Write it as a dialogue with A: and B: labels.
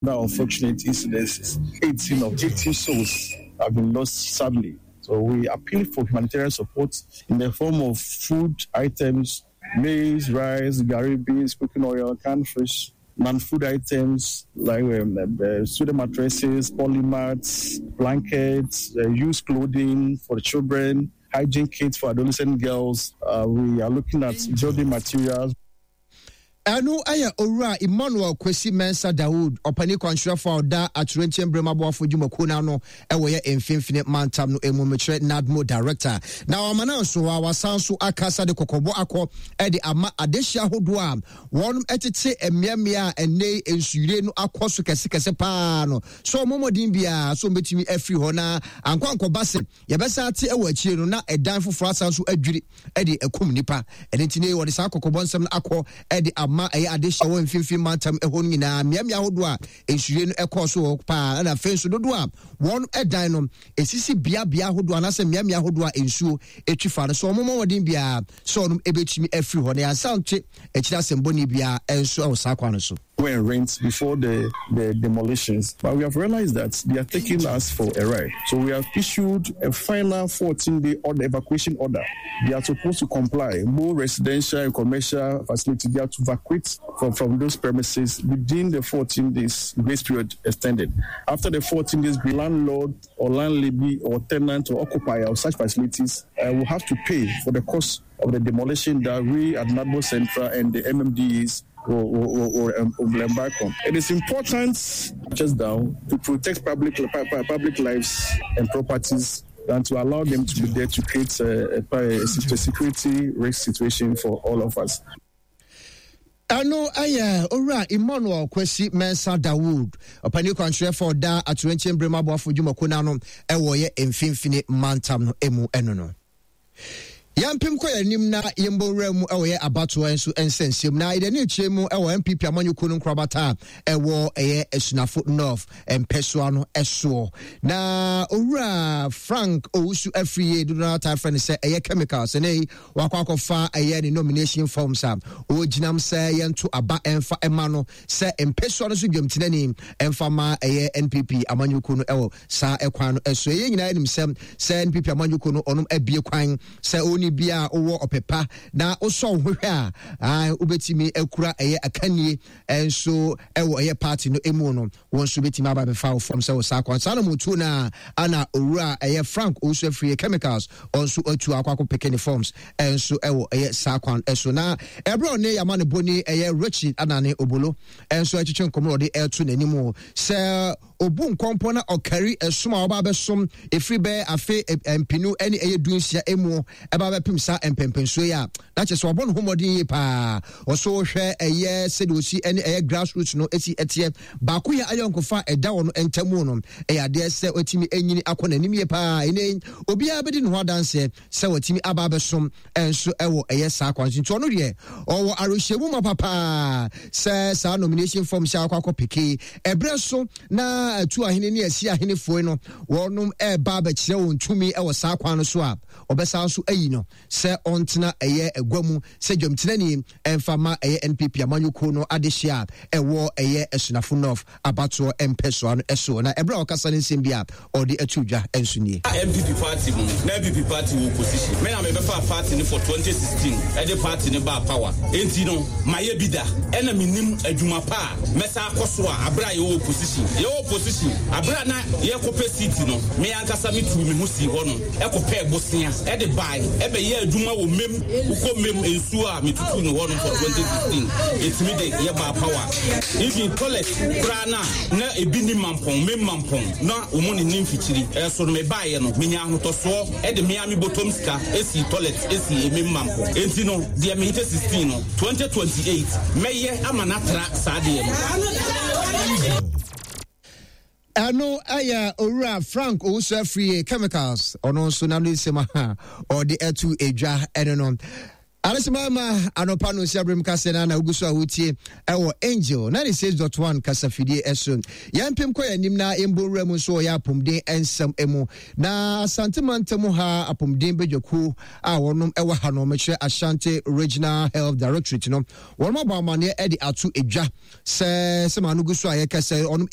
A: Other unfortunate incidences, 18 of 18 souls have been lost sadly. So we appeal for humanitarian support in the form of food items, maize, rice, gari beans, cooking oil, canned fish, non-food items like um, uh, student mattresses, polymats, blankets, uh, used clothing for children, hygiene kits for adolescent girls. Uh, we are looking at building materials.
B: Ɛno yɛ Owura Emmanuel Kwesi Mensah Dawood, ɔpanin kwankyerɛfo a ɔda Atoyerɛnkyɛm Berem Aboafo Dwumakuo no ano wɔ yɛ Mfimfini Mantam no mu, mekyerɛ NADMO Director. Na wama no nso a wasan so akasa de kɔkɔbɔ akɔ de ama adehye ahodoɔ a wɔn tete mmeammea a ɛnnɛ yi nsuyire no akɔ so kɛsekɛse paa no sɛ wɔn mmɔden biara sɛ wɔbɛtumi afiri hɔ na ankɔ ankɔba sɛ Yɛbɛsan ate wɔ akyire no na ɛdan foforɔ asan so adwiri de akum nnipa. Ɛno nti ne wɔde saa kɔkɔbɔ nsɛm no akɔ de ama ɛyɛ adehyɛ wɔ mfimfini mantam ɛhɔ no nyinaa, mmeammea ahodoɔ a nsuyire no ɛkɔɔ so wɔ paa, ɛna afei nso dodoɔ a wɔn ɛdan no ɛsisi beabea ahodoɔ anaasɛ mmeammea ahodoɔ a nsuo ɛtwi fa no so wɔn mmɔ mmɔden biara sɛ wɔn ɛbɛtumi afiri hɔ na yɛansan nte akyire asɛm bɔne biara nso wɔ saa kwan no so.
A: Go and rent before the, the demolitions. But we have realized that they are taking us for a ride. So we have issued a final 14 day order, evacuation order. They are supposed to comply. More residential and commercial facilities, they are to evacuate from, from those premises within the 14 days grace period extended. After the 14 days, the landlord or landlady or tenant or occupier of such facilities uh, will have to pay for the cost of the demolition that we at NADMO Central and the MMDAs will, will, will, um, will embark on. It is important just down to protect public, public lives and properties than to allow them to be there to create a, a, a security risk situation for all of us.
B: Ɛno yɛ Owura Emmanuel Kwasi Mensah Dawood, ɔpanin kwankyerɛfo a ɔda Atoyerɛnkyɛm Berem Aboafo Dwumakuo no ano wɔ yɛ Mfimfini Mantam no mu ɛno no. Yɛmpem kɔ yɛn anim na yɛmbɔ nwura mu wɔ yɛ abatoɔ nso nsɛnsɛm na yɛde ani akyerɛ mu wɔ NPP amanyɔkuo no nkorabata a ɛwɔ ɛyɛ Asunafo North mpɛsoa no soɔ. Na Owura Frank Owusu Afriyie dodoɔ no taa frɛ no sɛ ɛyɛ chemicals ɛnɛ yi wakɔ akɔfa ɛyɛ ne nomination forms a ɔgyinam sɛ yɛnto aba ɛmfa ɛma no sɛ mpɛsoa no so dwamtenani ɛmfa ma ɛyɛ NPP amanyɔkuo no ɛwɔ saa ɛkwan no ɛso. Ɛyɛ nyinaa anim sɛ sɛ NPP amanyɔkuo no ɔnom abie kwan sɛ ɔni bi a wowɔ ɔpɛ pa na wosɔ wo ho hwɛ a wobɛtumi akura ɛyɛ akannie nso ɛwɔ ɛyɛ party no emu no wɔn nso bɛtumi aba bɛfa wo fam sɛ wɔ saa kwan saa na motuo no a ana owura ɛyɛ Frank Owusu Afriyie Chemicals ɔnso atu akɔ akɔ peke ne forms ɛnso ɛwɔ ɛyɛ saa kwan ɛso na ɛberɛ ɔne yama ne boni ɛyɛ Richard Anane Obolo ɛnso ɛtwetwe nkɔmɔ ɔde ɛto n'anim sɛ Obu nkɔmpɔ na ɔkari ɛsom a ɔba abɛsom ɛfiri bɛyɛ afe mpenu ne ɛyɛ dunsia emu ɛba abɛpem saa mpɛmpɛnsuo yi a, na kyerɛ sɛ wabɔ ne ho mmɔden yie paa. Ɔso hwɛ ɛyɛ sɛdeɛ ɔsi ɛne ɛyɛ grassroots no ɛsi ɛteɛ. Baako yɛ ayɔnkofa a ɛda wɔn ntamu no ɛyɛ adeɛ sɛ watumi anyini akɔ n'anim yie paa. Ɛnɛ yi obiara bɛdi ne ho adanseɛ sɛ watumi aba abɛsom nso wɔ ɛyɛ saa kwan so nti ɔno deɛ ɔwɔ awerɛhyɛmu ma papaa sɛ saa nomination form hyɛ akɔ akɔ peke ɛberɛ so na atu ahene ne asi ahenefoɔ no wɔnom ɛreba abɛkyerɛ wɔn tumi wɔ saa kwan no so a ɔbɛsan so ayi no sɛ ɔntena ɛyɛ agua mu sɛ dwamtenani ɛmfa ma ɛyɛ NPP amanyɔkuo no adehyeɛ a ɛwɔ ɛyɛ Asunafo North abatoɔ mpɛsoa no soɔ. Na ɛberɛ a ɔkasa no nsɛm bi a ɔde ato dwa nso nie.
C: NPP party mu no, na NPP party wɔ opposition. Me na me bɛfaa party no for 2016 ɛde party no baa power. Enti no, mayɛ bi da. Ɛna me nim adwuma pa a mɛsan akɔ so a aberɛ a yɛwɔ opposition. Yɛwɔ opposition, aberɛ a na yɛkɔ pɛ seat no, me ankasa me tuu me ho sii hɔ nom ɛkɔ pɛɛ bosea ɛde bae ɛbɛyɛɛ adwuma wɔ mem. Wokɔ mem nsuo a me tutuu no hɔ nom for 2016, ɛtumi de yɛ baa power. Even toilet koraa no a na ebi nni Mampɔn, me Mampɔn na wɔn ne nni mfikyiri. Ɛso no mebaeɛ no menya ahotɔsoɔ de me ara me bɔtɔm sika sii toilet sii me Mampɔn. Enti no deɛ me 2016 no 2028 mɛyɛ ama no atra saa deɛ no.
B: Ɛno yɛ Owura Frank Owusu Afriyie Chemicals, ɔno nso n'ano nsɛm a ɔde ato edwa ɛno no. Adesemama anɔpa no nsia berem kaseɛ no na wogu so a wotie ɛwɔ Angel 96.1 kasafidie ɛso. Yɛmpem kɔ yɛn anim na yɛmbɔ nwura mu nso wɔ yɛ apɔmuden nsɛm mu. Na Asante mantam ha apɔmuden badwakuo a wɔnom ɛwɔ ha no mekyerɛ Ashanti Regional Health Directorate no wɔnom abɔ amaneɛ de ato edwa sɛ sɛ maa no gu so a yɛkasa wɔnom.